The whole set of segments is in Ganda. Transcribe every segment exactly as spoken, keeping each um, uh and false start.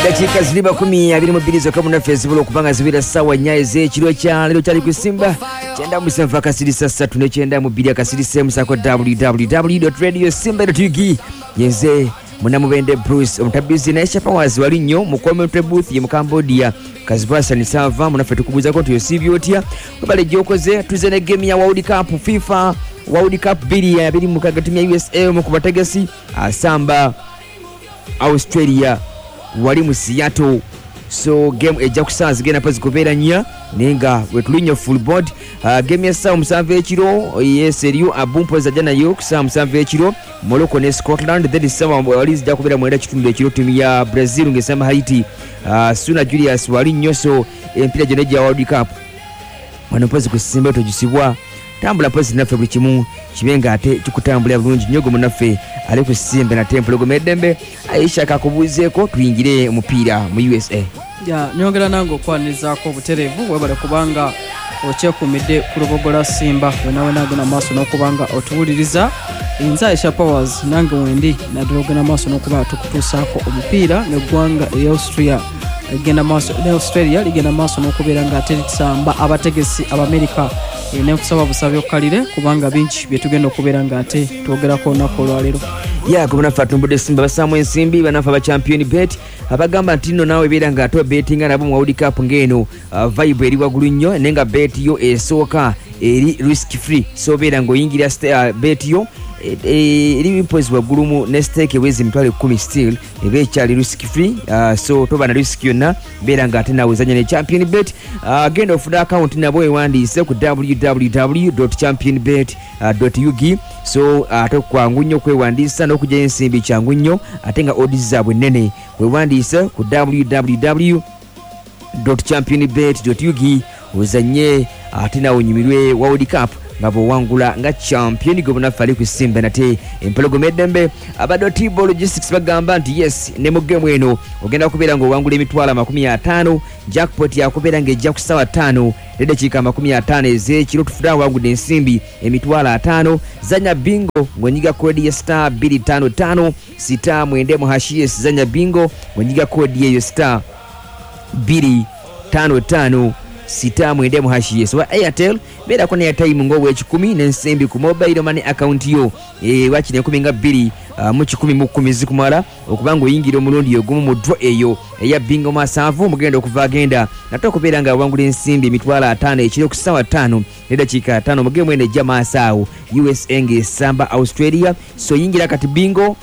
Dakika ziri makumi abiri mu bbiri zokka munnaffe ezisobola okuba nga zibeera ssaawa nnya ez'ekiro kya leero kyali ku Simba kyenda musanvu akasirisa ssatu ne kyenda mu bbiri akasirisa emu saako w w w radio simba ug. Yenze Munamubende Bruce Omutabizi, naye Shapawazi wali nnyo mu commentary booth ye mu Cambodia Kazibasani Sava. Munaffe tukubuuzako nti osiibye otya? Webale gyokoze. Tuze ne game ya World Cup, FIFA World Cup bbiri abiri mukaaga. Timu ya U S A omu ku bategesi asamba Australia wali mu Seattle, so game ejja kusaawa zigenda pa zikubeera nnya, naye nga wetuli nnyo full board. uh, game ya ssaawa musanvu ekiro, yes, eriyo abumpozi ajja nayo ku ssaawa musanvu ekiro, Morocco ne Scotland. Then ssaawa wali zijja kubeera mwenda kitundu ekiro, timu ya Brazil ng'esamba Haiti. uh, suna Julius wali nnyo. So empiira gyonna egya World Cup wano mpozi ku Simba togisibwa. Tambula mpozi naffe, buli kimu kibe nga ate kikutambulira bulungi nnyo. Gwe munaffe ali ku Simba nate Empologoma Eddembe Aisha kakubuuzeeko tuyingire omupiira mu U S A. Ya, nyongera nange okwanirizaako obutereevu. Webale kubanga okyekumidde ku Lubogola Simba wena wena agenda maaso n'okubanga otuwuliriza. Nze Aisha Powers, nange wendi naddala ogenda maaso n'okuba tukutuusaako omupiira ng'eggwanga erya Austria ligenda maaso ne Australia ligenda maaso n'okubeera nga ate lisamba abategesi Abamerika. Eh, nenkusaba busabi okkalire kubanga bingi bye tugenda okubeera nga ate twogerako olunaku olwaleero. Ya, gwe munaffe atumbudde Simba bassaamu ensimbi, banaffe aba Champion Bet abagamba nti nno naawe beera nga ate obetinga nabo mu World Cup ng'eno uh, vibe eri waggulu nnyo, naye nga bet yo esooka eri risk free. So obeera ng'oyingira st- uh, bet yo eh, eh, eri mpozi waggulu mu ne stake eweza emitwalo ekkumi, still eba ekyali risk free. uh, so toba na risk yonna, beera nga ate naawe zanya ne Champion Bet. uh, genda ofune account nabo, ewandiise ku w w w championbet ug. So ate kwangu nnyo okwewandiisa n'okugyayo ensimbi kyangu nnyo, ate nga odds zaabwe nnene. Wewandiise ku w w w championbet ug, ozanye ate nawe onyumirwe World Cup nga bwowangula nga champion. Gwe bunaffe ali ku Simba nate Empologoma Eddembe, abadde Tibo Logistics bagamba nti yes, ne mu game eno ogenda kubeera ng'owangula emitwalo amakumi ataano. Jackpot yakubeera ng'ejja ku ssaawa ttaano neddakiika amakumi ataano ez'ekiro, tufune awangudde ensimbi emitwalo ataano. Zanya bingo ng'onyiga code ya star bbiri ttaano ttaano star mwenda mu hash. Yes, zanya bingo ng'onyiga code eyo star bbiri ttaano ttaano sita mwenda mu hash. Yes, wa Airtel beerako ne airtime ng'obwekikumi n'ensimbi ku mobile money account yo. e, wakiri enkumi nga bbiri uh, mu kikumi mu kkumi zikumala okuba nga oyingira omulundi ogumu mu draw eyo eya bingo masanvu mugenda okuva agenda nate okubeera nga awangula ensimbi emitwalo ataano ekiro ku ssaawa ttaano neddakiika ataano mu game eno ejja maaso awo, U S A ng'esamba Australia. So yingira kati bingo,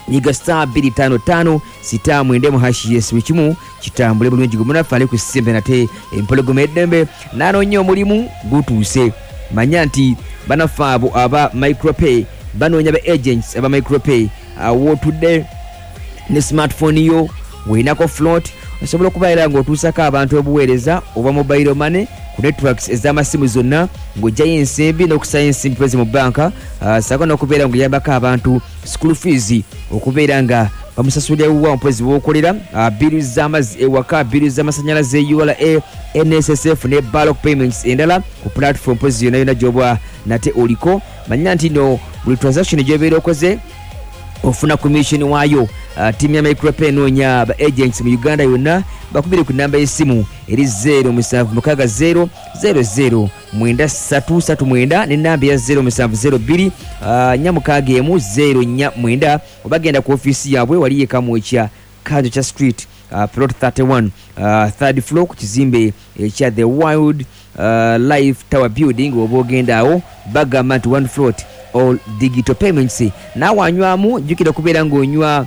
nyiga star bbiri ttaano ttaano star mwenda mu hash. Yes, buli kimu kitambule bulungi. Gwe munaffe ali ku Simba nate Empologoma Eddembe n'anoonya omulimu gutuuse, manya nti banaffe abo aba Micropay banoonya ba agents aba Micropay. Awootudde ne smartphone yo, welinako float, osobola okubeera ng'otuusako abantu obuweereza obwa mobile money ku networks ez'amasimu zonna, ng'ojjayo ensimbi n'okusayo ensimbi pezi mu banka, uh, saako n'okubeera ng'oyambako abantu school fees, okubeera nga bamusasulira wuwa mpozi wokolera, uh, bill z'amazzi ewaka, bill z'amasanyalaze, U R A, N S S F ne bulk payments endala ku platform mpozi yonna yonna gy'oba nate oliko. Manya nti no buli transaction gy'obeera okoze ofuna commission waayo. uh, tiimu ya Micropay enoonya ba agents mu Uganda yonna. Bakubire ku namba y'essimu eri zero musanvu mukaaga zero zero zero mwenda ssatu ssatu mwenda n'enamba eya zero musanvu zero bbiri uh, nnya mukaaga emu zero nnya mwenda, oba genda ku ofiisi yaabwe wali e Kamwokya, Kanjokya Street, uh, plot thirty-one, uh, third floor, ku kizimbe ekya The Wild uh, Life Tower Building. Oba ogenda awo bagamba nti one float, all digital payments. Naawe anywamu, jjukira okubeera ng'onywa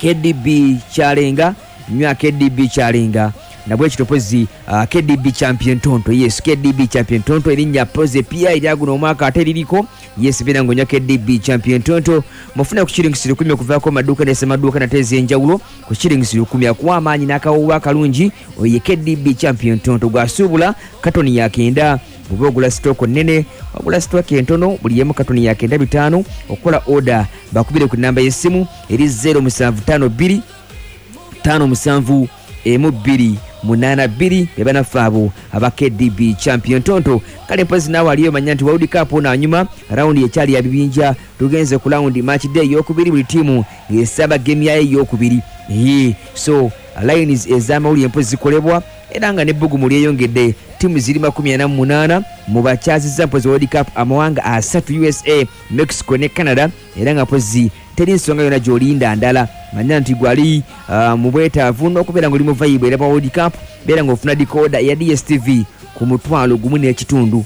K D B Kyalenga, nywa K D B Kyalenga nabwekito pozi uh, K D B Champion Tonto. Yes, K D B Champion Tonto erinnya pozi epya eryaguno omwaka ate liriko. Yes, beera ng'onywa K D B Champion Tonto. Mufune ku shilingi lukumi okuvaako maduuka nesemaduuka nate ez'enjawulo ku shilingi lukumi, akuwa amaanyi n'akawoowo akalungi. Oyo ye K D B Champion Tonto gwasuubula katoni yakenda. Bw'oba ogula stock nnene, wagula stock entono, buli emu katoni yakenda bitaano. Okukola order bakubire ku namba y'essimu eri zero musanvu ttaano bbiri ttaano musanvu emu bbiri munaana bbiri be banaffe abo aba K D B champion Tonto. Kale mpozi naawe aliyo manya nti World Cup naanyuma rawundi ekyali ya bibinja, tugenze ku rawundi match day eyokubiri, buli ttiimu ng'esaba game yayo eyokubiri. So lines ez'amawulire mpozi zikolebwa era nga n'ebbugumu lyeyongedde, ttiimu ziri makumi ana mu munaana mu bakyazizza mpozi World Cup amawanga asatu U S A, Mexico ne Canada, era nga mpozi teri nsonga yonna gy'olinda ndala. Manya nti gwali uh, mu bwetaavu n'okubeera ng'oli mu vibe era bwa World Cup, beera ng'ofuna decoder ya D S T V ku mutwalo gumu n'ekitundu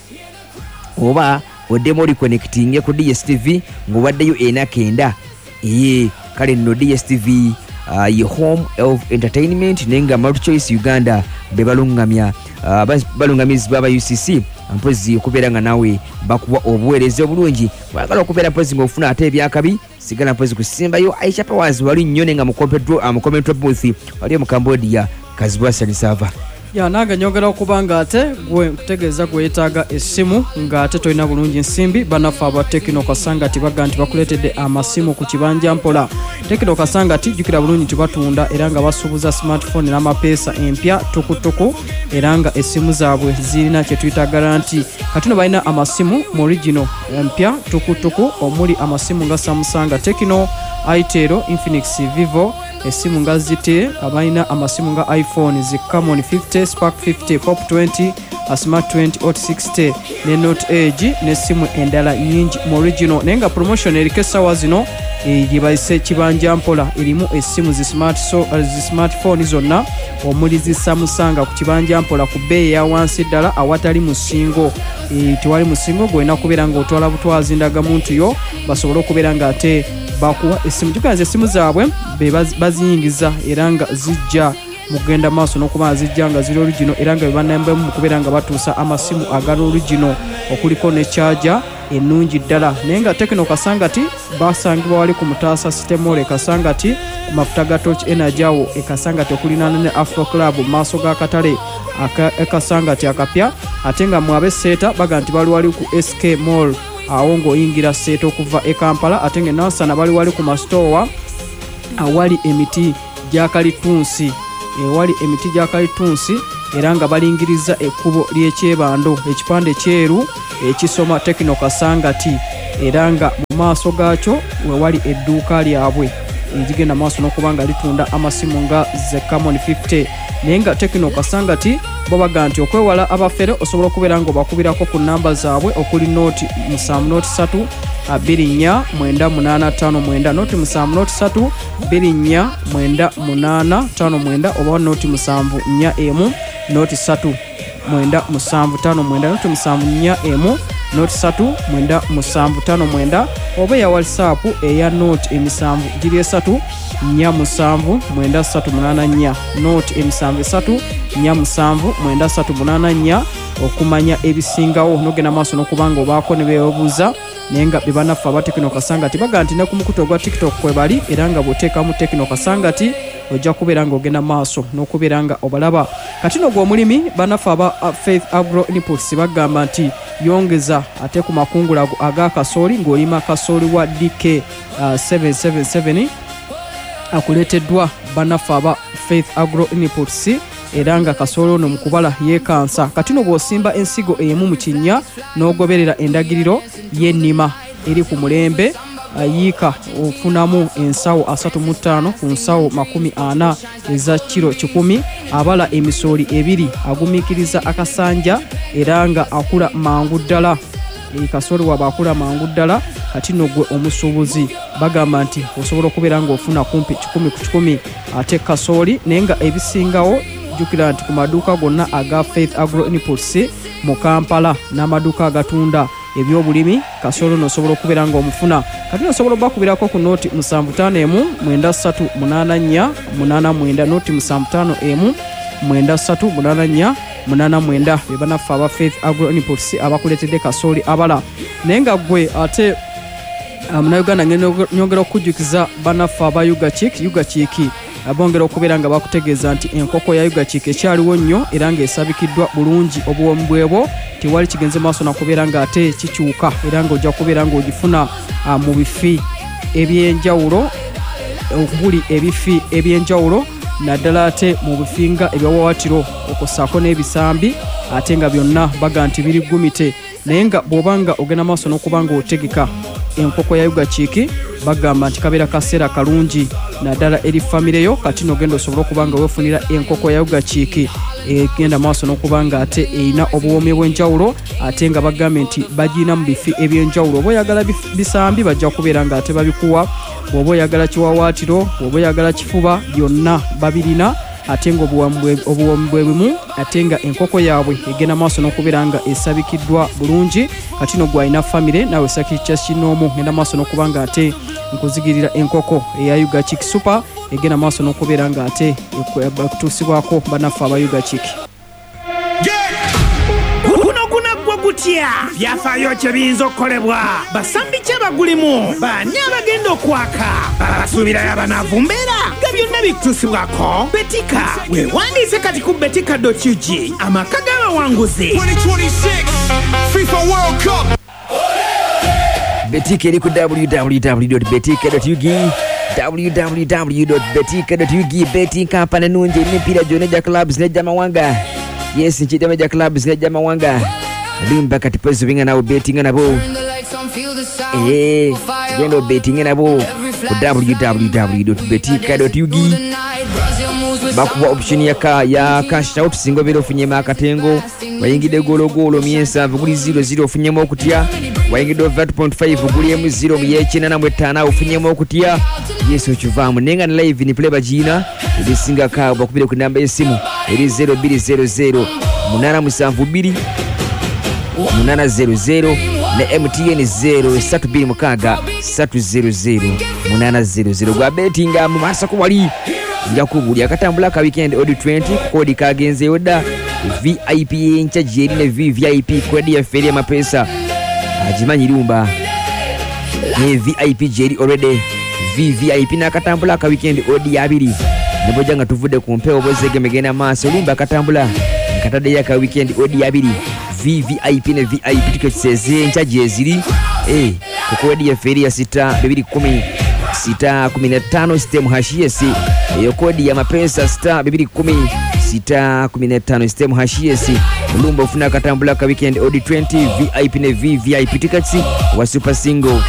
oba oddemu oliconnectinge ku D S T V ng'obaddeyo ena kenda. Ee kale nno D S T V uh, ye home of entertainment naye nga MultiChoice Uganda be balungamya uh, balungamizibwa aba U C C mpozi okubeera nga naawe bakuwa obuweereza obulungi. Bwagala okubeera mpozi ng'ofuna ate ebyakabi, sigala mpozi kusimbayo Aisha Powers wali nnyo naye nga mu commentary booth wali mu Cambodia Kazibwa Sanisava. Ya nange nyongera okuba nga ate gwe nkutegeeza gwe yeetaaga essimu ng'ate tolina bulungi nsimbi, bannaffe aba Tekino Kasangati baga nti bakuleetedde amasimu ku kibanja mpola. Tekino Kasangati jjukira bulungi nti batunda era nga basuubuza smartphone n'amapeesa empya tukutuku, era nga essimu zaabwe zirina kye tuyita garanti. Kati no balina amasimu mu original empya tukutuku omuli amasimu nga Samsung, Tekino, Itel, Infinix, Vivo, essimu nga Z T, abalina amasimu nga iPhone zi Camon fifty, Spark fifty, Pop twenty, Smart twenty, Hot sixty ne Note Edge n'essimu endala nnyingi mu original. Naye nga promotion eriko essaawa zino gye bayise kibanja mpola, erimu essimu zi smart so, zi smartphone zonna omuli zi Samsung ku kibanja mpola ku bbeeyi eya wansi ddala awatali musingo. E, tewali musingo gw'olina kubeera ng'otwala butwazi ndagamuntu yo basobole okubeera ng'ate bakuwa essimu. Jjukira nti essimu zaabwe be baziyingiza era nga zijja mugenda maaso n'okuba zijja nga ziri original, era nga be bannambemu mu kubeera nga batuusa amasimu agali original okuliko ne charger ennungi ddala. Naye nga Tekino Kasangati basangibwa wali ku Mutaasa City Mall e Kasangati ku mafuta ga Torch Energy awo e Kasangati okulinaana ne Afro Club mu maaso g'akatale e Kasangati akapya. Ate nga mwe ab'e Seeta baga nti bali wali ku S K Mall awo ng'oyingira Seeta okuva e Kampala. Ate nga e Nansana bali wali ku masitoowa awali emiti gya kalitunsi, ewali emiti gya kalitunsi, era nga balingiriza ekkubo ly'ekyebando, ekipande kyeru ekisoma Tekino Kasangati, era nga mu maaso gaakyo wewali edduuka lyabwe erigenda maaso n'okuba nga litunda amasimu nga ze Camon fifty. Naye nga Tekino Kasangati bo baga nti okwewala abafere osobola okubeera ng'obakubirako ku nnamba zaabwe okuli nooti musanvu nooti ssatu bbiri nnya mwenda munaana ttaano mwenda, nooti musanvu nooti ssatu bbiri nnya mwenda munaana ttaano mwenda, oba nooti musanvu nnya emu nooti ssatu mwenda musanvu ttaano mwenda, nooti musanvu nnya emu nooti ssatu mwenda musanvu ttaano mwenda, oba eya WhatsApp eya nooti emisanvu giri esatu nnya musanvu mwenda ssatu munaana nnya, nooti emisanvu esatu nnya musanvu mwenda ssatu munaana nnya okumanya ebisingawo n'ogenda maaso n'okuba nga obaako ne beebuuza. Naye nga be bannaffe aba Tekino Kasangati baga nti ne ku mukutu ogwa TikTok kwe bali, era nga bw'oteekamu Tekino Kasangati ojja kubeera ng'ogenda maaso n'okubeera nga obalaba. Kati no gwe omulimi, bannaffe aba Faith Agro Inputs bagamba nti yongeza ate ku makungula aga kasooli ng'olima kasooli wa D K uh, seven seven seven akuleeteddwa bannaffe aba Faith Agro Inputs, era nga kasooli ono mu kubala yeekansa. Kati no bw'osimba ensigo emu mu kinnya n'ogoberera endagiriro y'ennima eri ku mulembe yiika ofunamu ensawo asatu mu ttaano ku nsawo makumi ana eza kiro kikumi, abala emisooli ebiri, agumiikiriza akasanja era nga akula mangu ddala. Kasooli waba akula mangu ddala. Kati nno gwe omusuubuzi bagamba nti osobola okubeera ng'ofuna kumpi kikumi ku kikumi ate kasooli. Naye nga ebisingawo jjukira nti ku maduuka gonna aga Faith Agro Inputs mu Kampala n'amaduuka agatunda ebyobulimi kasooli ono osobola okubeera ng'omufuna. Kati osobola obbakubirako ku nooti musanvu ttaano emu mwenda ssatu munaana nnya munaana mwenda, nooti musanvu ttaano emu mwenda ssatu munaana nnya munaana mwenda, be bannaffe aba Faith Agro Inputs abakuleetedde kasooli abala. Naye nga ggwe ate Munnayuganda nyongera okukujjukiza bannaffe aba Ugachik. Ugachik bongera okubeera nga bakutegeeza nti enkoko ya Ugachik ekyaliwo nnyo era ng'esabikiddwa bulungi obuwoomi bwebwo, tewali kigenze maaso nakubeera ng'ate kikyuka, era ng'ojja kubeera ng'ogifuna mu bifi ebyenjawulo, okuli ebifi ebyenjawulo Naddala ate mu bifinga ebiwaawaatiro okussaako n'ebisambi, ate nga byonna baga nti biri gumite. Naye nga bw'obanga ogenda maaso n'okuba nga otegeka enkoko ya Ugachick, bagamba nti kabeera kaseera kalungi naddala eri famire yo. Kati n'ogenda osobola okuba nga weefunira enkoko ya Ugachick egenda maaso n'okuba nga ate erina obuwoomi obw'enjawulo, ate nga bagambye nti bagirina mu bifi eby'enjawulo. Oba oyagala bisambi bajja kubeera nga ate babikuwa, bw'oba oyagala kiwaawaatiro, bw'oba oyagala kifuba, byonna babirina, ate nga obuwoomi bwe bumu, ate nga enkoko yaabwe egenda maaso n'okubeera nga esabikiddwa bulungi. Kati no gwalina famire naawe sakikya kinoomu, ngenda maaso n'okuba nga ate nkuzigirira enkoko eya Ugachick Super egenda maaso n'okubeera nga ate ekutuusibwako bannaffe aba Ugachick. Guno gunaggwa gutya? Byafaayo kye biyinza okukolebwa? Basambi ki abagulimu? Baani abagenda okwaka? Basuubirayo abanaavumbeera? Nga byonna bikutuusibwako Betika. Weewandiise kati ku betika dot U G, amaka g'abawanguzi. twenty twenty-six FIFA World Cup. Betika eri ku w w w dot betika dot u g, w w w dot betika dot u g. Betting company ennungi erina emipiira gyonna egya clubs n'egy'amawanga. Yes, nkiyitamu egya clubs n'egy'amawanga. Limba kati pozi binga nawo bettinga nabo. Eh, genda obetinge nabo ku w w w dot betika dot u g. Bakuwa option ya ka ya cash out singa obeera ofunyemu akatengo, wayingidde goologoolo myensanvu guli zero zero ofunyemu okutya, wayingidde over two point five guli emu zero mu yekinana mu etaano ofunyemu okutya. Yes, okivaamu naye nga ne live ni play bagiina ebisingako awo bakubire ku namba y'essimu eri zero bbiri zero zero munaana musanvu bbiri munaana zero zero ne M T N zero ssatu bbiri mukaaga ssatu zero zero munaana zero zero. Gwa bettinga mu maaso ko wali nja kubuulira akatambula ka weekend odi twenty kodi kagenzeeyo dda. V I P y'enkya gyeri ne V V I P kodi yaffe eri amapeesa agimanyi lumba ne V I P gyeri already. V V I P n'akatambula ka weekend odi abiri ne bw'ojja nga tuvudde ku mpewo bw'ozegeme genda maaso lumba akatambula nkataddeyo aka weekend odi abiri. V V I P ne V I P tickets ez'enkya gyeziri eh ku kodi yaffe eri ya sita bibiri kumi sita kumi na ttaano sitemu hashi S. Eyo kodi ya mapesa sita bibiri kumi sita kumi na ttaano sitemu hashi S. Lumba ofuna akatambula ka weekend odi twenty V I P ne V V I P tickets wa super single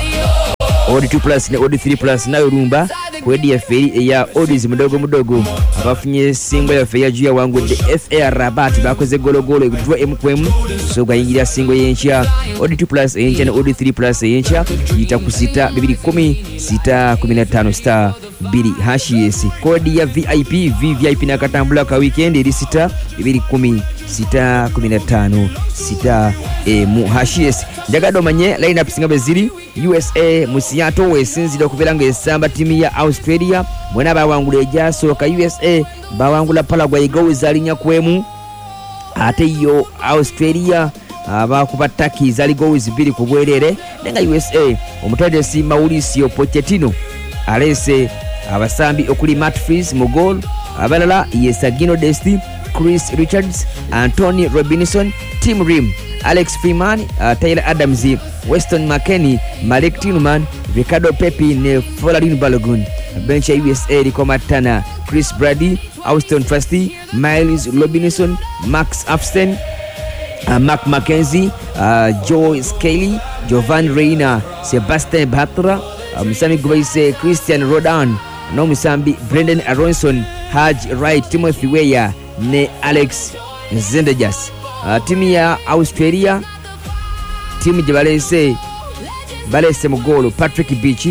odi two plus ne odi three plus nayo lumba kodi yaffe eri eya odis mudogo mudogo. Abafunye single yaffe ya juu ya wangudde F A Rabat bakoze gologolo ekutwa emu ku emu, so gayingira single y'enkya odi two plus eyenkya ne odi three plus eyenkya yita ku sita bibiri kumi sita kumi na ttaano star bbiri hashi S. Kodi ya V I P V V I P n'akatambula ka weekend eri sita bibiri kumi sita kumi na ttaano sita emu hashi S. Njagadde omanye line up singa bwe ziri. U S A mu Seattle wesinzira okubeera ng'esamba ttiimu ya Australia. Bonna bawangula egyasooka. U S A bawangula Paraguay goals zaali ku emu, ate yo Australia abakuba Turkey zaali goals bbiri ku bwereere. Naye nga U S A omutendesi Mauricio Pochettino aleese abasambi okuli Matt Fries mu goal, abalala ye Sergino Desti, Chris Richards, Anthony Robinson, Tim Rim, Alex Freeman, uh, Tyler Adams, Weston McKennie, Malik Tillman, Ricardo Pepi ne Folarin Balogun. Bench ya U S A eriko Matt Turner, Chris Brady, Austin Trusty, Miles Robinson, Max Afsten, uh, Mark McKenzie, uh, Joe Skelly, Jovan Reina, Sebastian Batra, uh, musambi gwe bayise Christian Rodan n'omusambi Brendan Aronson, Haj Wright, Timothy Weah ne Alex Zendejas. Uh, ttiimu ya Australia ttiimu gye baleese baleese mu goolo Patrick Beach,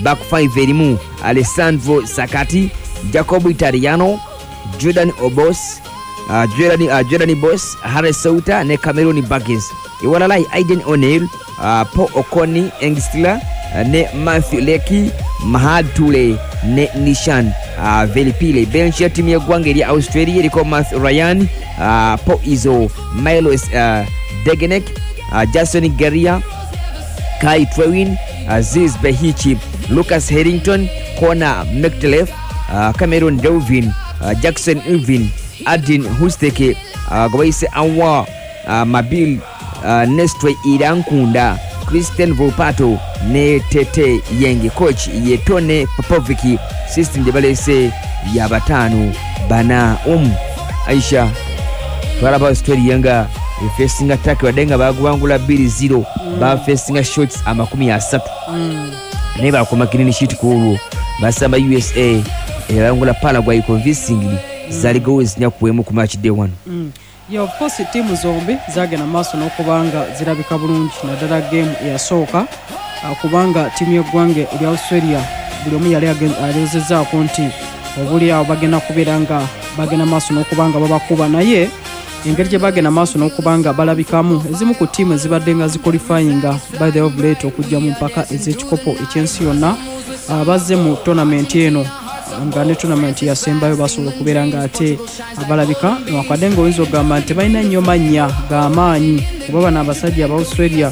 back five erimu Alessandro Sakati, Jacob Italiano, Jordan Obos, uh, Jordan, uh, Jordan Bos, Harris Souta ne Cameron Burgess. Ewalala Aiden O'Neill, uh, Paul Okoni Engstler uh, ne Matthew Leckie, Mahad Tule ne Nishan uh, Velipile. Bench ya ttiimu y'eggwanga erya Australia eriko Matthew Ryan, uh, Paul Izzo, Milos uh, Degenek, uh, Jason Geria, Kai Trewin, Aziz Behichi, Lucas Harrington, Connor McTelef, uh, Cameron Delvin, uh, Jackson Irvin, Adin Husteke, uh, Gwaise Anwa, uh, Mabil, uh, Nestre Irankunda, Christian Volpato ne Tete Yenge. Coach ye Tone Popoviki. System gye baleese ya bataano bana omu. Aisha, twalaba Australia nga efacinga Turkey, wadde nga baguwangula bbiri zero, bafacinga shots amakumi asatu, naye bakoma clean sheet ku olwo. Basamba U S A, ebawangula Paraguay convincingly, zaali goals nnya ku emu ku match day one. Yeah, of course, ttiimu zombi zagenda maaso n'okubanga zirabika bulungi, naddala game eyasooka, ah, kubanga ttiimu y'eggwanga erya Australia buli omu yali agen- alowoozezaako nti obuli awo bagenda kubeera nga bagenda maaso n'okuba nga babakuba, naye engeri gye bagenda maaso n'okuba nga balabikamu, ezimu ku ttiimu ezibadde nga ziqualifyinga by the of late okujja mu mpaka ez'ekikopo ekyensi yonna, ah, bazze mu tournament eno nga ne tournament yasembayo basobola okubeera nga ate balabika, newankubadde nga oyinza okugamba nti tebalina nnyo mannya g'amaanyi, kuba bano abasajja aba Australia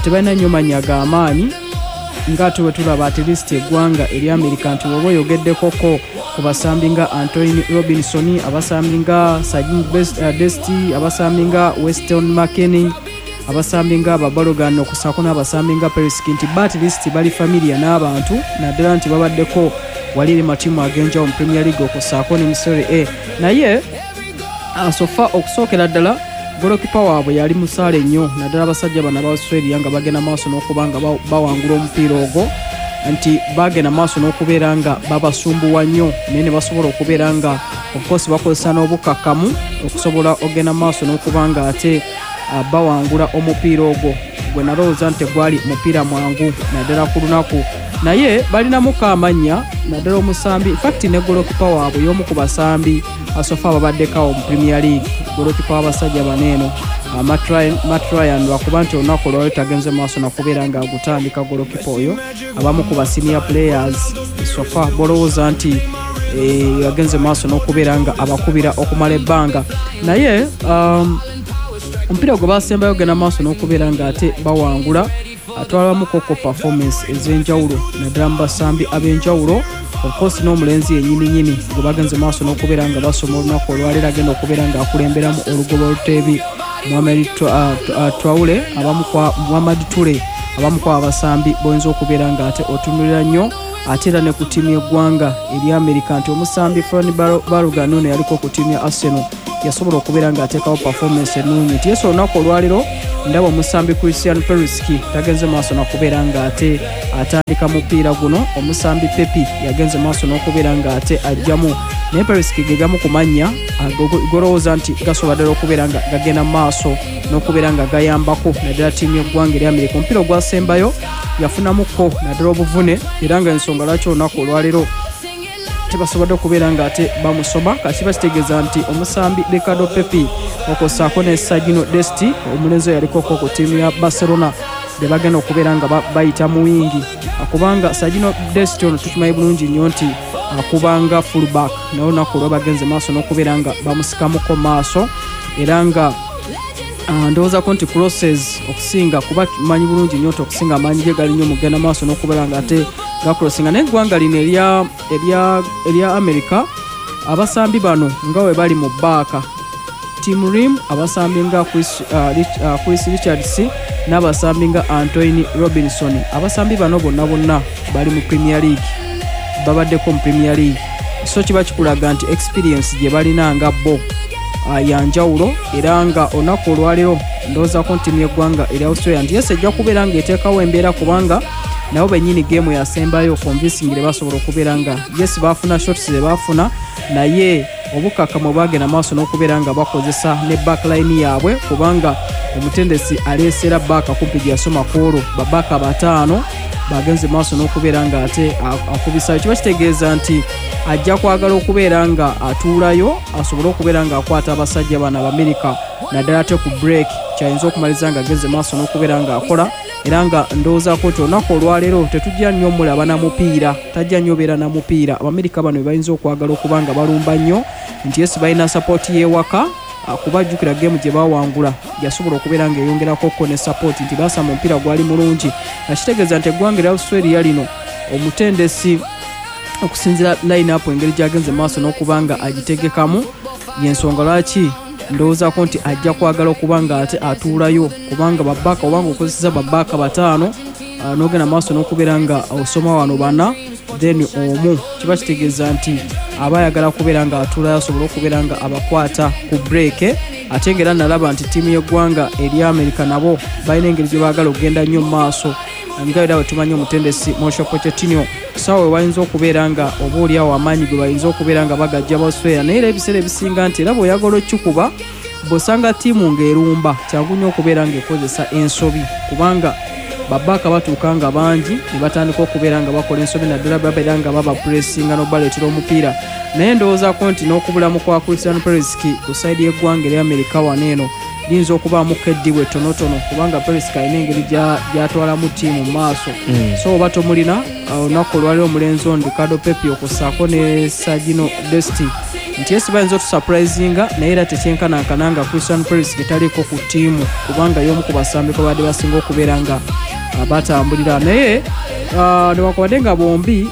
tebalina nnyo mannya g'amaanyi ng'ate bwe tulaba at least eggwanga erya America, nti bw'oba oyogeddekoko ku basambi nga Antonee Robinson, abasambi nga Sergino Dest, abasambi nga Weston McKennie, abasambi nga Babalogan, okusaako n'abasambi nga Perisic, nti ba at least bali familiar n'abantu, naddala nti babaddeko wali eri matiimu ag'enjawulo mu Premier League okusaako ne mu Serie A. Naye ah, so far, okusookera ddala golokipa waabwe yali musaale nnyo, naddala abasajja bano aba Australia nga bagenda maaso n'okuba nga ba- bawangula omupiira ogwo, nti bagenda maaso n'okubeera nga babasumbuwa nnyo, naye ne basobola okubeera nga of course bakozesa n'obukakkamu okusobola ogenda maaso n'okuba nga ate ah, bawangula omupiira ogwo gwe nalowooza nti tegwali mupiira mwangu naddala ku lunaku. Naye balinamuko amannya, naddala omusambi, infact ne golokipa waabwe y'omu ku basambi so far babaddekawo mu Premier League, golokipa w'abasajja bano eno, ah, Matt Ryan- Matt Ryan, lwakuba nti olunaku olwaliro tagenze maaso nakubeera nga agutandika. Golokipa oyo abamu ku ba senior players so far bolowooza nti eh, yagenze maaso n'okubeera nga abakubira okumala ebbanga. Naye um, omupiira gwe basembayo genda maaso n'okubeera nga ate bawangula, atwalamu koko performance ez'enjawulo, naddala mu basambi ab'enjawulo. Of course n'omulenzi yennyininyini gwe bagenze maaso n'okubeera nga basoma olunaku olwaleero agenda okubeera nga akulemberamu olugoba oluteebi, Mohamed Tra- uh, Traore, abamu kwa Muhammad Ture, abamu ku abasambi boyinza okubeera nga ate otunulira nnyo. Ate era ne ku ttiimu y'eggwanga erya America, nti omusambi Fran Balogun ono yaliko ku ttiimu ya Arsenal, yasobola okubeera ng'ateekawo performance ennungi, nti yesu olunaku olwaleero ndaba omusambi Christian Perisic tagenze maaso nakubeera ng'ate atandika mupiira guno. Omusambi Pepi yagenze maaso n'okubeera ng'ate ajjamu, naye Perisic ge gamu ku mannya golowooza nti gasobola ddala okubeera nga gagenda mu maaso n'okubeera nga gayambako naddala ttiimu y'eggwanga erya Amerika. Omupiira ogwasembayo yafunamuko naddala obuvune, era nga ensonga lwaki olunaku olwaleero tebasobodde okubeera nga ate bamusoma. Kati kiba kitegeeza nti omusambi Ricardo Pepi okwosaako ne Sergino Dest, omulenzi oyo yalikoko ku ttiimu ya Barcelona, be bagenda okubeera nga bayita mu wingi, kubanga Sergino Dest ono tukimanyi bulungi nnyo nti akubanga fullback, naye olunaku olwa bagenze maaso n'okubeera nga bamusikamuko maaso, era nga ndowoozako nti crosses okusinga, kuba manyi bulungi nnyo nti okusinga amaanyi ge gali nnyo mugenda maaso n'okubeera nga ate gacrossinga. Naye eggwanga lino erya America, abasambi bano nga bwe bali mu baaka Tim Ream, abasambi nga Chris, uh, Rich, uh, Chris Richards n'abasambi nga Antonee Robinson, abasambi bano bonna bonna bali mu Premier League, babaddeko mu Premier League, so kiba kikulaga nti experience gye balina nga bo uh, yanjawulo. Era nga olunaku olwaleero ndowoozako nti ttiimu y'eggwanga erya Australia nti yes ejja kubeera ng'eteekawo embeera, kubanga nabo bennyini geemu yasembayo convincingly basobola okubeera nga yes baafuna shots ze baafuna, naye obukakkamu bwagenda maaso n'okubeera nga bakozesa ne backline yaabwe, kubanga omutendesi aleesera baaka kumpi gye yasoma ku olwo babaaka bataano bagenze maaso n'okubeera nga ate akubisayo. Kiba kitegeeza nti ajja kwagala okubeera nga atuulayo asobole okubeera nga akwata abasajja bano Abamerika, naddala ate ku break kyayinza okumaliriza nga agenze maaso n'okubeera nga akola. Era nga ndowoozaako nti olunaku olwaleero tetujja nnyo mulaba na mupiira, tajja nnyo beera na mupiira. Abamerika bano be bayinza okwagala okuba nga balumba nnyo, nti yes balina support y'ewaka, kuba jjukira geemu gye bawangula yasobola okubeera ng'eyongerakoko ne support, nti basamba omupiira gwali mulungi, nga kitegeeza nti eggwanga erya Australia lino omutendesi okusinziira line up engeri gy'agenze maaso n'okuba nga agitegekamu, yensonga lwaki ndowoozaako nti ajja kwagala okuba nga ate atuulayo, kubanga babaaka obanga okozeseza babaaka bataano n'ogenda maaso n'okubeera nga osoma wano bana then omu, kiba kitegeeza nti aba ayagala kubeera nga atuulayo asobole okubeera nga abakwata ku break. Ate ng'era nalaba nti ttiimu y'eggwanga erya America nabo balina engeri gye baagala okugenda nnyo mu maaso, nga era bwe tumanyi omutendesi Mauricio Pochettino ssaawa we bayinza okubeera nga oba oliawo amaanyi gwe bayinza okubeera nga bagajja Australia. Naye era ebiseera ebisinga nti era bw'oyagala okukikuba bw'osanga ttiimu ng'erumba kyangu nnyo okubeera ng'ekozesa ensobi, kubanga babbaaka batuuka nga bangi ne batandika okubeera nga bakola ensobi, naddala babeera nga babapuresinga n'obaleetera omupiira. Naye ndowoozaako nti n'okubulamu kwa Christian Pulisic ku sayidi y'eggwanga erya Amerika wano eno liyinza okubaamuko eddibu ettonotono, kubanga Pulisic alina engeri gy'atwalamu ttiimu mu maaso. So oba tomulina, olunaku olwaliro omulenzi ono Ricardo Pepi okussaako ne Sergino Dest nti esi bayinza otusurprisinga, naye era tekyenkanankana nga Christian Pulisic taliiko ku ttiimu, kubanga y'omu ku basambi kwe babadde basinga okubeera nga batambulira. Naye newankubadde nga bombi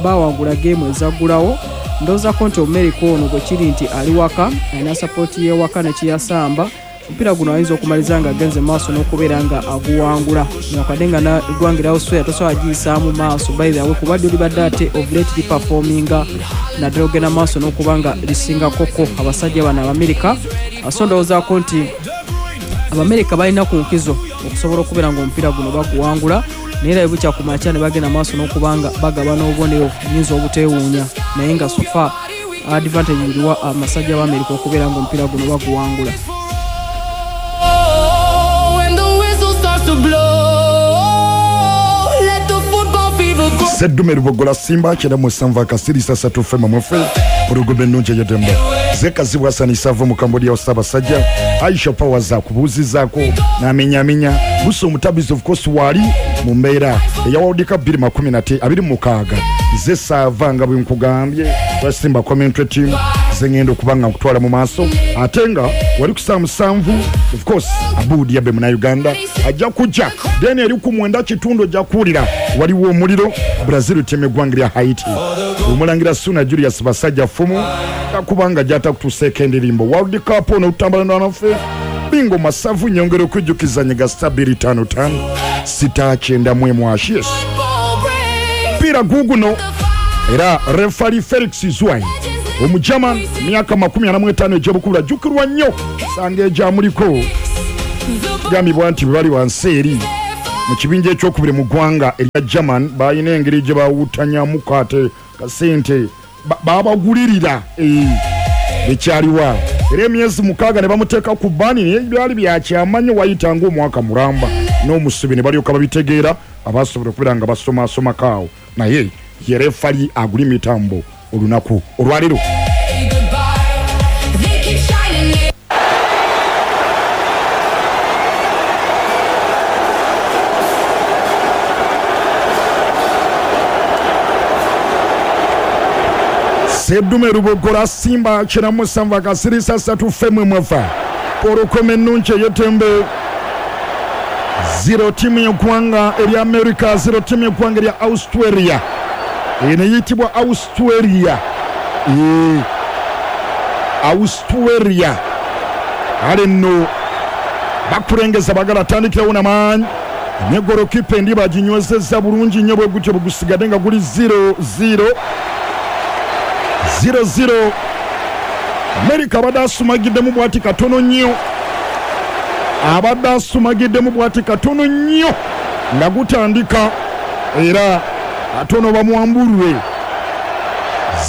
bawangula geemu ezaggulawo, ndowoozako nti Omumerika ono bwe kiri nti ali waka, alina sapooti y'ewaka nekiyasamba, omupiira guno ayinza okumaliza nga agenze maaso n'okubeera nga aguwangula. Newankubadde nga eggwanga erya Australia tosobola giyisaamu maaso by the way, kuba ddyo libadde ate of late liperforminga naddala ogenda maaso n'okuba nga lisingakoko abasajja bano Abamerika. So ndowoozaako nti Abamerika balina ku nkizo okusobola okubeera nga omupiira guno baguwangula, naye era bwe bukya ku makya ne bagenda maaso n'okuba nga bagabana obubonero nyinza obuteewuunya, naye nga so far advantage eriwa amasajja b'Amerika okubeera nga omupiira guno baguwangula. Seddume Lubogola Simba kyenda musanvu akasirisa ssatu fema mwefe pulogulaamu ennungi ey'eddembe zekazibwa Hassan Savo mu Cambodia wa Ssaabasajja Aisha Powers akubuuzizaako n'amenyamenya Buso Omutabizi of course waali mu mbeera eya World Cup bbiri makumi nate abiri mu mukaaga. Nze saava nga bwe nkugambye wa Simba commentary team ze ngenda okuba nga nkutwala mu maaso, ate nga wali ku ssaawa musanvu of course Abudi Yabe Munnayuganda ajja kujja, then eri ku mwenda kitundu ojja kuwulira waliwo omuliro Brazil ttiimu eggwanga lya Haiti. Omulangira Suna Julius Basajja Fumu akubanga gy'atakutuuseeko endirimbo World Cup ono otutambula naffe bingo masavu nyongera okujjukiza nyiga sita bbiri ttaano ttaano sita kyenda mu emu ashi. Yes, mpira guguno era refari Felix Zwai Omugerman myaka makumi ana mu etaano egy'obukulu ajjukirwa nnyo sanga egyamuliko gambibwa nti bwe bali wansi eri mu kibinja ekyokubiri mu ggwanga erya German balina engeri gye bawutanyamuko ate kasente babagulirira ekyaliwa era emyezi mukaaga ne bamuteeka ku bbaani, naye byali byakyamanyi wayita ng'omwaka mulamba n'omusubi ne balyoka babitegeera abasobola okubeera nga basomasomako awo, naye ye refali agula emitambo olunaku olwaleero. Seddume Lubogola Simba kyenda musanvu akasirisa ssatu femwe mwefa polokome ennungi ey'ettembe zero ttiimu y'eggwanga erya America zero ttiimu y'eggwanga erya Australia eno eyitibwa Australia ee Australia ale nno bakulengeza bagala atandikirawo namaanyi ne golokipa endi baginywezezza bulungi nnyo bwe gutyo bwe gusigadde nga guli zero zero zero zero. Amerika abadde asumagiddemu bw'ati katono nnyo, abadde asumagiddemu bw'ati katono nnyo nga gutandika era atono bamuwambulwe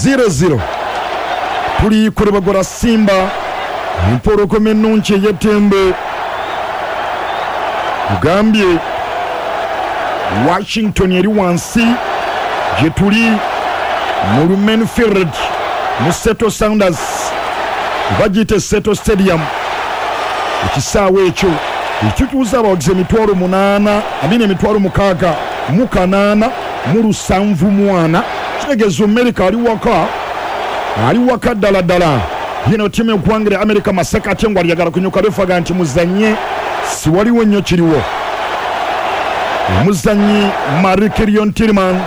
zero zero. Tuli ku Lubogola Simba empologoma ennungi ey'ettembe kugambye Washington eri wansi gye tuli mu Lumen Field mu Seattle Sounders bagiyita Seattle Stadium. Ekisaawe ekyo ekituuza abawagizi emitwalo munaana amina emitwalo mukaaga mu kanaana mu lusanvu mu ana, kitegeeza Amerika ali waka, ali waka ddala ddala. Yino ttiimu y'eggwanga lya Amerika Masaka ate ngo alyagala kunyuka refaga nti muzanye si waliwo nnyo kiriwo. Omuzanyi Marikirion Tillman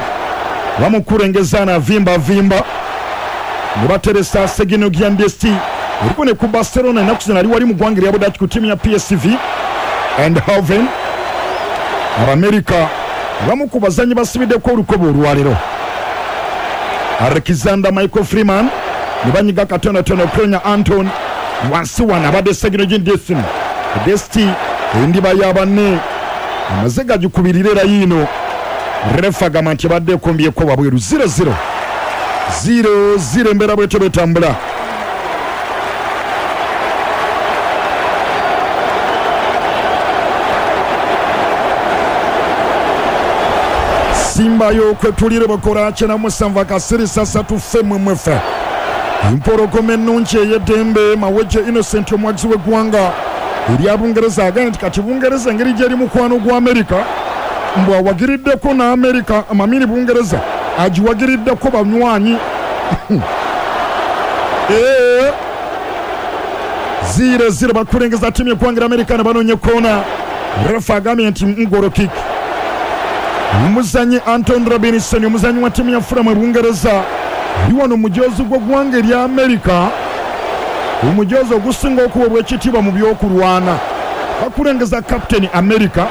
bamukulengeza n'avimba vimba ne bateresa Sergio Giandesti eriko ne ku Barcelona ennaku zino ali wali mu ggwanga erya Budaaki ku ttiimu ya P S V Eindhoven. Abamerika bamu ku bazanyi basibiddeko olukoba olwaleero. Alexander Michael Freeman ne banyiga katonotono Konya Anton wansi wano abadde Segino Destin Desti endiba y'abanne amaze gagikubirira era yiino refa agamba nti ebadde ekombyeko wabweru zero zero zero zero embeera bwetyo bwetambula. Simba yo kwetulire bakola kyenda musanvu akasirisa satu ffe mmwe mwefe empologoma ennungi ey'eddembe Mawejje Innocent omwagizi w'eggwanga erya Bungereza agambye nti kati Bungereza engeri gyeri mukwano gwa Amerika mbw awagiriddeko n'Amerika amamini Bungereza agiwagiriddeko banywanyi ee zero zero bakulengeza ttiimu y'eggwanga Amerika ne banoonya koona. Refa agambye nti ngolo kick. Omuzanyi Anton Robinson omuzanyi wa ttiimu ya Fulham e Bungereza ali wano omujoozi gw'eggwanga erya Amerika, omujoozi ogusinga okuweebwa ekitiibwa mu by'okulwana. Bakulengeza Captain America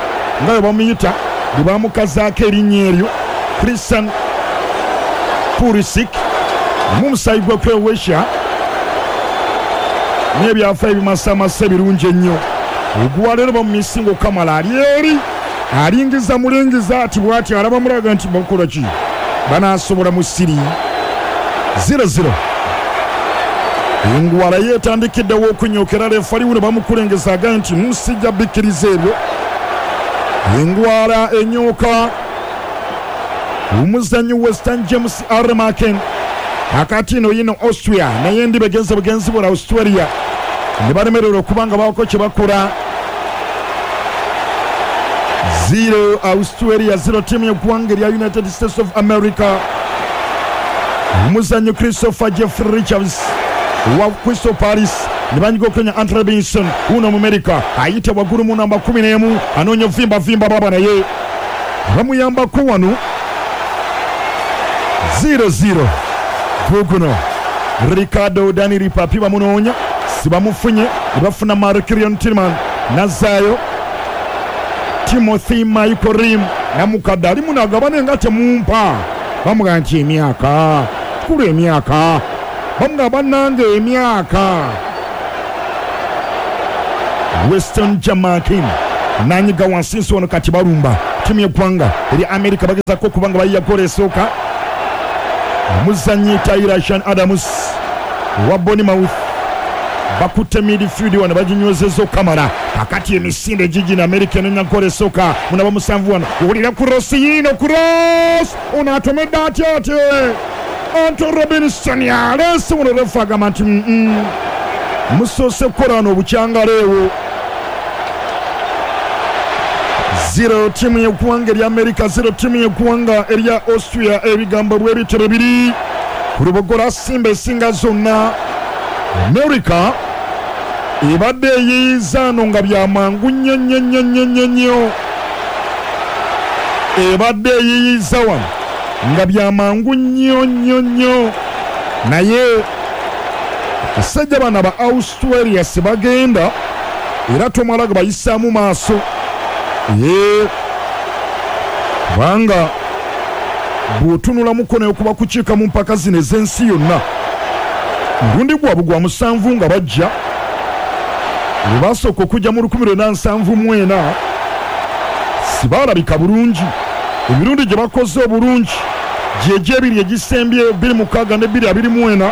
nga bwe bamuyita, bwe bamukazaako erinnya eryo Christian Pulisic mu musaayi gwe Croatia n'ebyafa ebimasamasa ebirungi ennyo. Ogwaleero bamumisinga okukamala ali eri alingiza mulingiza ati bwati alaba mulaga nti bakola ki banaasobola mu siri zero zero. Engwala yeetandikiddewo okunyokera refali wuno bamukulengeza agambye nti musijja bikkiriza ebyo. Engwala enyoka omuzannyi Western James R. Maken akati ino yino Austria naye ndi begenze bugenzi bula Australia ne balemererwa okuba nga baako kye bakola. Zero Australia zero ttiimu y'eggwanga erya United States of America. Omuzannyi Christopher Jeffrey Richards wa Crystal Palace ne banyiga okunya Anthony Robinson wuno mu America ayita waggulu mu namba kumi n'emu anoonya vimba vimba baba naye bamuyambako wano zero zero. Guguno Ricardo Dani Ripapi bamunoonya sibamufunye ne bafuna Mark-Kirion Tillman nazaayo Timothy Michael Rim namukadde ali munagabane nga temumpa bamugamba nti emyaka kulu emyaka bamugamba bannange emyaka. Western Jamaican nanyiga wansi nsi wano kati balumba ttiimu y'eggwanga eri Amerika bagezaako okuba nga bayiya goolo esooka. Omuzannyi Tyler Sean Adams wa Bournemouth bakutte midfield wano baginywezezza okukamala. Kakati emisinde gigino Amerika enonya goolo esooka munaba musanvu wano owulira kurosi yiino kurosi ono atomedde atya ate Anton Robinson aleese wano refa agamba nti mm musoose kukola wano obukyangaleewo. Zero ttiimu y'eggwanga erya Amerika zero ttiimu y'eggwanga erya Austria. Ebigambo bw'ebitebe biri ku Lubogola Simba esinga zonna. Amerika ebadde eyiiza no nga byamangu nnyo nnyo nnyo nnyo nnyo nnyo, ebadde eyiiza wano nga byamangu nnyo nnyo nnyo, naye abasajja bano aba Australia sibagenda era tomala ga bayisaamu maaso ye kubanga bw'otunula mukono okuba kukiika mu mpaka zino ez'ensi yonna mulundi gwabwe gwa musanvu nga bajja lwe basooka okujja mu lukumi lwenda nsanvu mu ena sibaalabika bulungi. Emirundi gye bakoze obulungi gyegyo ebiri egisembye bbiri mukaaga ne bbiri abiri mu ena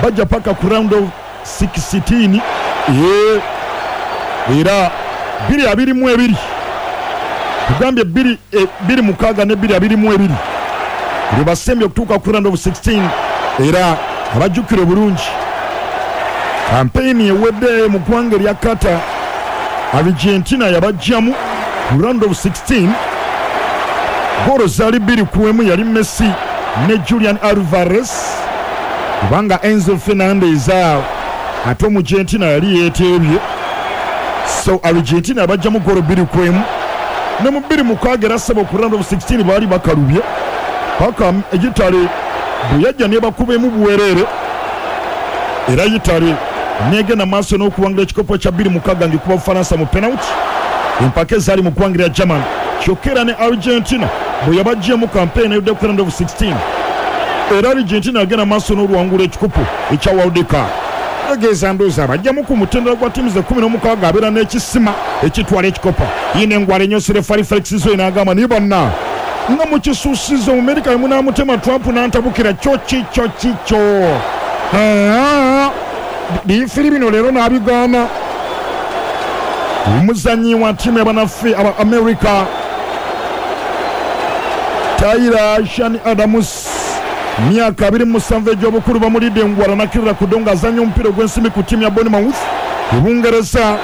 bajja paka ku round of sixteen ye era bbiri abiri mu ebiri tugambye bbiri bbiri mukaaga ne bbiri abiri mu ebiri lwe basembye okutuuka ku round of sixteen era abajjukira obulungi kampeyini ewedde mu ggwanga erya Qatar Argentina yabajjamu ku round of sixteen. Goolo zaali bbiri ku emu yali Messi ne Julian Alvarez kubanga Enzo Fernandez awo ate Omuargentina yali yeeteebye, so Argentina yabajjamu goolo bbiri ku emu ne mu bbiri mukaaga era ssebo ku round of sixteen baali bakalubye paka Italy bwe yajja nebakuba emu buwereere era Italy negenda maaso n'okuwangula ekikopo kya bbiri mukaaga ng'ekuba Bufalansa mu penalty. Empaka ezaali mu ggwanga lya German kyokka era ne Argentina bwe yabaggyemu kampeyini eyodde ku round of sixteen Era Argentina agenda maaso n'oluwangula ekikopo ekya World Cup. Tegeeza ndowooza abajjamu ku mutendera gwa ttiimu ze kkumi n'omukaaga abeera n'ekisima ekitwala ekikopo. Yina engwala ennyose refari Felix Zoe n'agamba naye banna nga mukisuusiza Omumerika munamutema Trump n'antabukira kyo kikyo kikyo. Bifiri bino leero n'abigaana. Omuzannyi wa ttiimu y'abannaffe aba America Tyler Shan Adams, myaka abiri mu musanvu egy'obukulu, bamulidde engwala n'akkirira ku ddongo azannya omupiira ogw'ensimbi ku ttiimu ya Bournemouth e Bungereza.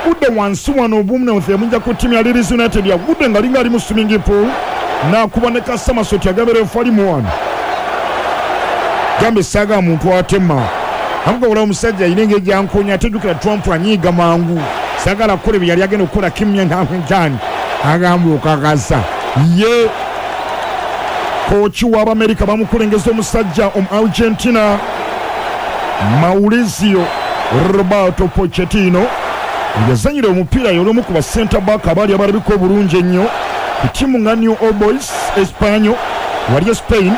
Gudde wansi wano Bournemouth yamujja ku ttiimu ya Leeds United, yagudde nga alinga ali mu swimming pool n'akuba ne Kasamasoti agabera efalimu wano. Gambe saaga muntu atema amuga wala omusajja alina engeri gy'ankonya, ate jjukira Trump anyiiga mangu, saagala kukola bye yali agenda okukola kimya ntaani agamba okakasa ye. Kooki w'Abamerika bamukulengeza omusajja omu Argentina Mauricio Roberto Pochettino, yazanyira omupiira y'omu ku ba center back abaali abalabika obulungi ennyo ku ttiimu nga New Old Boys Espanyol wali e Spain,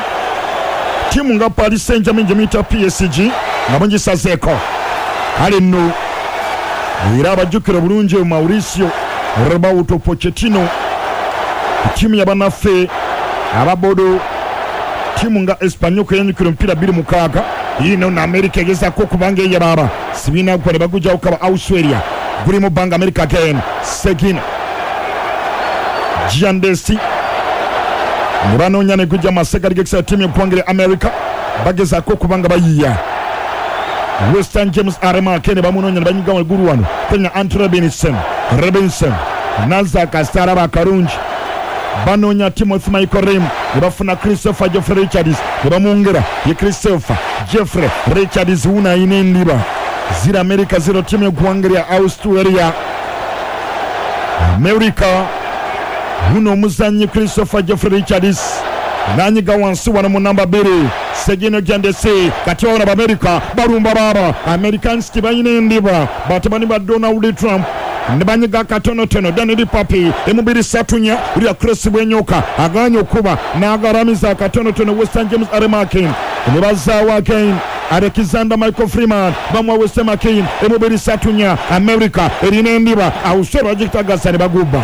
ttiimu nga Paris Saint-Germain gye muyita P S G nga mugisazeeko. Kale nno era abajjukira bulungi Mauricio Roberto Pochettino ku ttiimu y'abannaffe ababodo, ttiimu nga Espanyol kweyanjukira omupiira bbiri mukaaga. Yino na America egezaako okubanga eyababa sibiina gwa ne bagujjawo kaba Australia guli mu bbanga America again Segina Giandesi ne banoonya ne gujja masegali g'ekisaawe ttiimu y'eggwanga lya America bagezaako okubanga bayiya. Western James Aremake ne bamunoonya ne banyiga waggulu wano Kenya Anthony Robinson Robinson nazza kasita alaba akalungi, banoonya Timothy Michael Rim ne bafuna Christopher Jeffrey Richards ne bamwongera ye Christopher Jeffrey Richards wuno ayina endiba. Zira America zero ttiimu y'eggwanga lya Australia. America wuno omuzannyi Christopher Jeffrey Richards nanyiga wansi wano mu namba bbiri Segino Jandese. Kati wano Abamerika balumba baaba Americans tebalina endiba, batabani ba Donald Trump ne banyiga katonotono Daniel Papi emubiri satunya ulya Chris Bwenyoka aganye okuba n'agalamiza akatonotono Western James Aremakin ne bazaawo again Alexander Michael Freeman bamuwa Western McCain emubiri satunya. America erina endiba, Australia bagitagasa ne bagubba.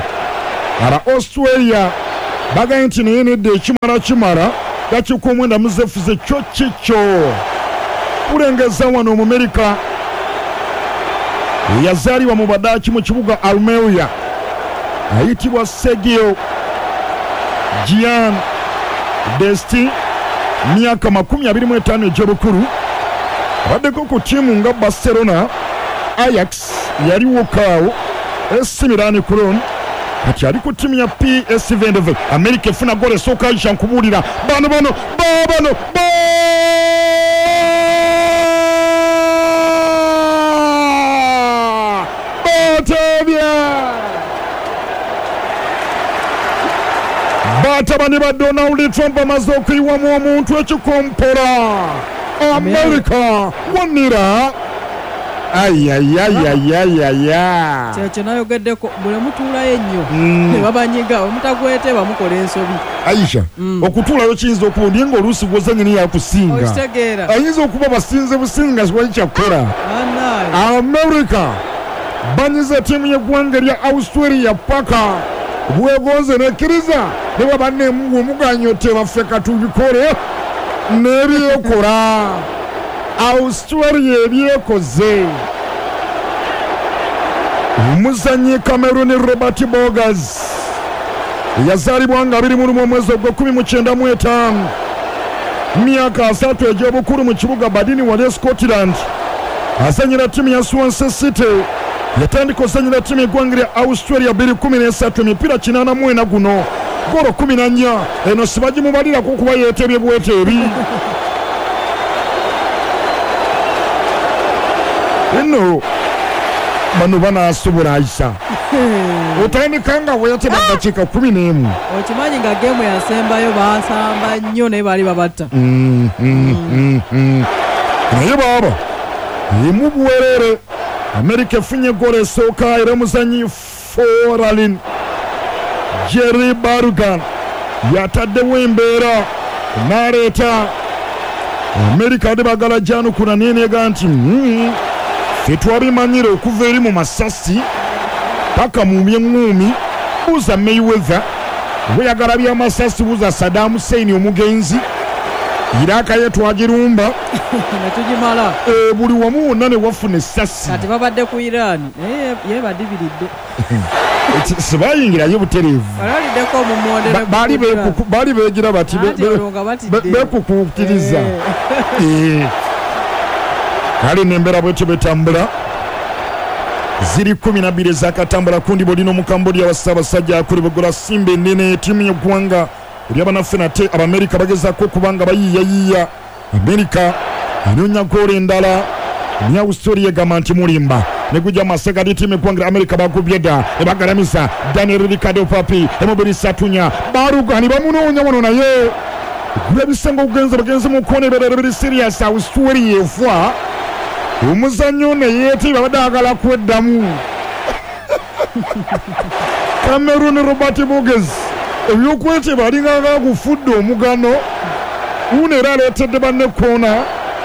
Aba Australia bagambye nti naye nedda ekimala kimala dakiika omwenda muzefuze kyo kikyo. Kulengeza wano Omumerika yazaalibwa mu Badaaki mu kibuga Almeria ayitibwa Sergio Gian Desti, myaka makumi abiri mu etaano egy'obukulu, abaddeko ku ttiimu nga Barcelona, Ajax yaliwo kaawo, A C Milan Cologne, kati ali ku ttiimu ya P S V Eindhoven. America efuna goolo esooka Aisha nkubuulira bano bano babano ba batebya batabani ba Donald Trump amaze okuyiwamu omuntu ekikompola. America wonira ayayayayaya. Kyekyo nayogeddeko buli mutuulayo ennyo ne babanyiga omutagwete bamukola ensobi. Aisha okutuulayo kiyinza okuba naye ng'oluusi gw'ozannya naye akusinga. Okitegeera. Ayinza okuba basinze businga siwali kyakukola. America banyiza ttiimu y'eggwanga erya Australia paka bwegonze nekkiriza ne bwaba nemuganyo tebaffe katubikole n'ebyekola. Australia ebyekoze. Omuzannyi Cameroon Robert Bogas yazaalibwa nga abiri mu lumu omwezi ogw'ekkumi mu kyenda mu etaano, myaka asatu egy'obukulu mu kibuga Badini wali e Scotland, azannyira ttiimu ya Swansea City. Yatandika ozannyira ttiimu y'eggwanga lya Australia bbiri kumi n'esatu, emipiira kinaana mu ena guno ggoolo kumi na nnya. Eno sibagimubalirako kuba yeetebye bweteebi. Eno bano banaasobola Aisha otandika nga weeteba ddakiika kumi n'emu. Okimanyi nga geemu yasembayo baasamba nnyo naye baali babatta. Naye baaba emu buweerere. America efunye ggoolo esooka era omuzannyi Foralin Jerry Bargan yataddewo embeera n'aleeta Amerika ate bagala janukula nenega nti "Mm, ffe twabimanyire okuva eri mu masasi paka mu byeŋŋumi. Buuza Mayweather, weyagala byamasasi, buuza Saddam Hussein omugenzi. Iraka ye twagirumba netugimala. Eh, buli wamu wonna ne wafuna essasi. Kati babadde ku Iran, naye yebadibiridde. Sibayingirayo butereevu. Balaliddeko omumondere. Ba- baali bekuku- baali beegira bati be- Anti be- olwo nga batidde. be- bekukuutiriza. Eh. Kale nembeera bwetyo betambula. Ziri kumi nabiri ezakatambula kundi bolina Omukambodia wa Ssaabasajja akuli Bugola Simba enene, ttiimu y'eggwanga eryabanaffe. Nate Abamerika bagezaako okubanga bayiiyayiiya. Amerika enoonya goolo endala. Australia egamba nti mulimba negujja masegadi. Ttiimu eggwanga lya Amerika bagubye dda, ebagalamisa Daniel Ricardo Papi emubiri satunya barugani bamunoonya wano, naye gula ebisenga okugenza bagenze mu kona ebirala biri serious. Australia efa omuzannyo naye ete babadde agala kweddamu. Cameron Robert Boges ebyokweteba alinganga gufudde omugano uno, era aleetedde banne koona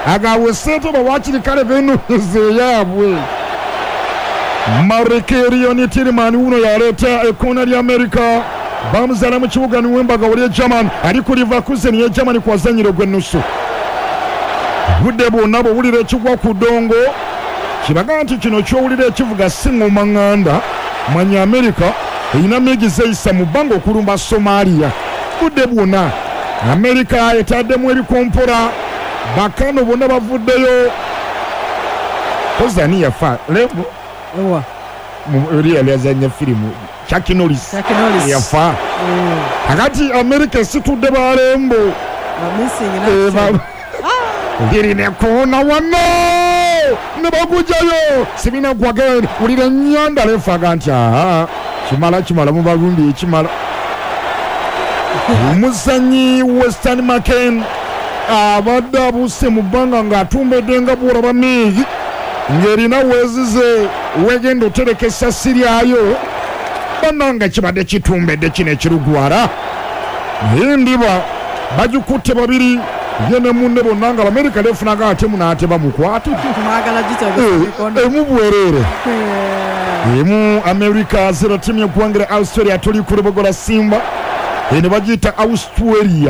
agawe sente bawakiri kale benoonyeza eyaabwe. Marekerion Tiriman uno yaleeta ekoona lya Amerika. Bamuzaala mu kibuga Niwembaga wali e German, ali ku Leverkusen ye German kwazanyira ogw'ennusu. Budde bwonna bwowulira ekigwa ku ddongo kibaga nti kino kyowulira ekivuga si ŋŋoma ŋŋanda. Manya Amerika erina miigi zeyisa mu bbanga okulumba Somalia. Budde bwonna Amerika etaddemu ebikompola, bakano bonna bavuddeyo. Kozani yafa Lembo Ewa. Oli yali azanya firimu, Chuck Norris. Chuck Norris. Yafa. Kakati Amerika esitudde balembo. Ba missing in Eh, action. ba- lirina koona wano ne bagujayo sibina gwagend wulira ennyanda lefaga nti aa kimala kimala mubalumbi ekimala. Omuzanyi Western Maken abadde abuuse mu bbanga ng'atumbedde nga bwolaba miigi ng'erina weezize wegenda otereka essasi lyayo. Bannanga kibadde kitumbedde kino ekirugwala, naye ndiba bagikutte babiri, ye ne munne bonna nga Abamerika lefunaga ate munaate bamukwate. Mwagala gitegesa mikono. Emu bwereere. Eh, emu America zero, timu yeggwanga lya Australia. Tuli ku Lubogola Simba, eno bagiyita Australia.